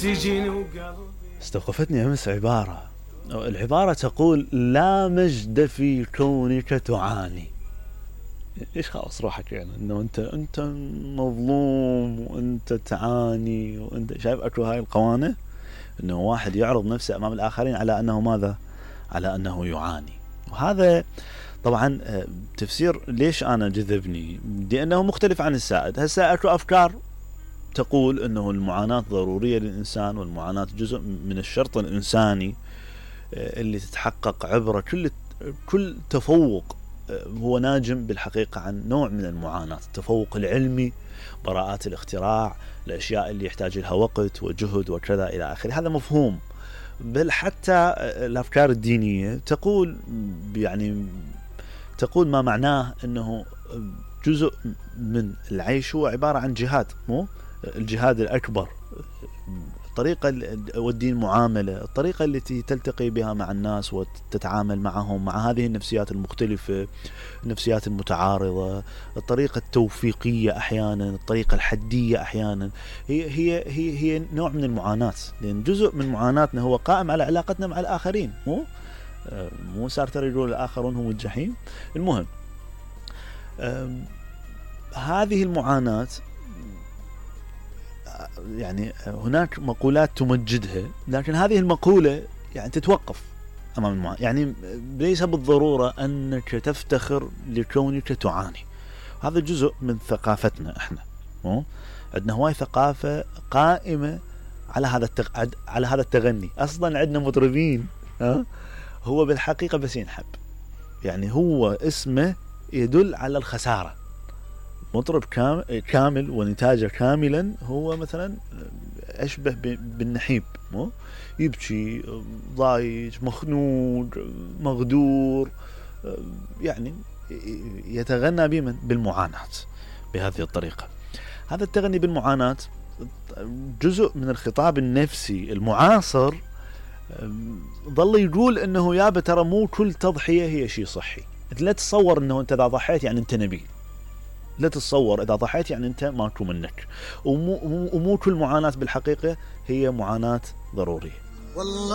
تجيني وقلبي. استوقفتني امس العبارة تقول لا مجد في كونك تعاني. ايش خلاص روحك يعني انه انت مظلوم وانت تعاني وانت شايف اكو هاي القوانة انه واحد يعرض نفسه امام الاخرين على انه ماذا؟ على انه يعاني. وهذا طبعا تفسير ليش انا جذبني لانه مختلف عن السائد. هسه اكو افكار تقول انه المعاناة ضرورية للانسان والمعاناة جزء من الشرط الانساني اللي تتحقق عبر كل تفوق هو ناجم بالحقيقة عن نوع من المعاناة، التفوق العلمي، براءات الاختراع، الاشياء اللي يحتاج لها وقت وجهد وكذا الى اخره. هذا مفهوم. بل حتى الافكار الدينية تقول ما معناه انه جزء من العيش هو عبارة عن جهاد، مو الجهاد الاكبر، الطريقة والدين معاملة، الطريقة التي تلتقي بها مع الناس وتتعامل معهم مع هذه النفسيات المختلفة، النفسيات المتعارضة، الطريقة التوفيقية أحيانا، الطريقة الحدية أحيانا، هي نوع من المعاناة. لأن جزء من معاناتنا هو قائم على علاقتنا مع الآخرين، مو سارتر يقول الآخرون هم الجحيم. المهم هذه المعاناة يعني هناك مقولات تمجدها، لكن هذه المقولة يعني تتوقف أمام المعاناة. يعني ليس بالضرورة أنك تفتخر لكونك تعاني. هذا جزء من ثقافتنا احنا، عندنا هواي ثقافة قائمة على هذا التغني. أصلا عندنا مطربين هو بالحقيقة بس ينحب، يعني هو اسمه يدل على الخسارة. مطرب كامل ونتاجه كاملا هو مثلا أشبه بالنحيب، يبكي ضايج مخنوق مغدور، يعني يتغنى بمن؟ بالمعاناة بهذه الطريقة. هذا التغني بالمعاناة جزء من الخطاب النفسي المعاصر ظل يقول انه يا ترى مو كل تضحية هي شيء صحي. لا تتصور انه انت اذا ضحيت يعني انت نبيل، لا تتصور اذا ضحيت يعني انت ماكو منك، ومو كل معاناة بالحقيقة هي معاناة ضرورية.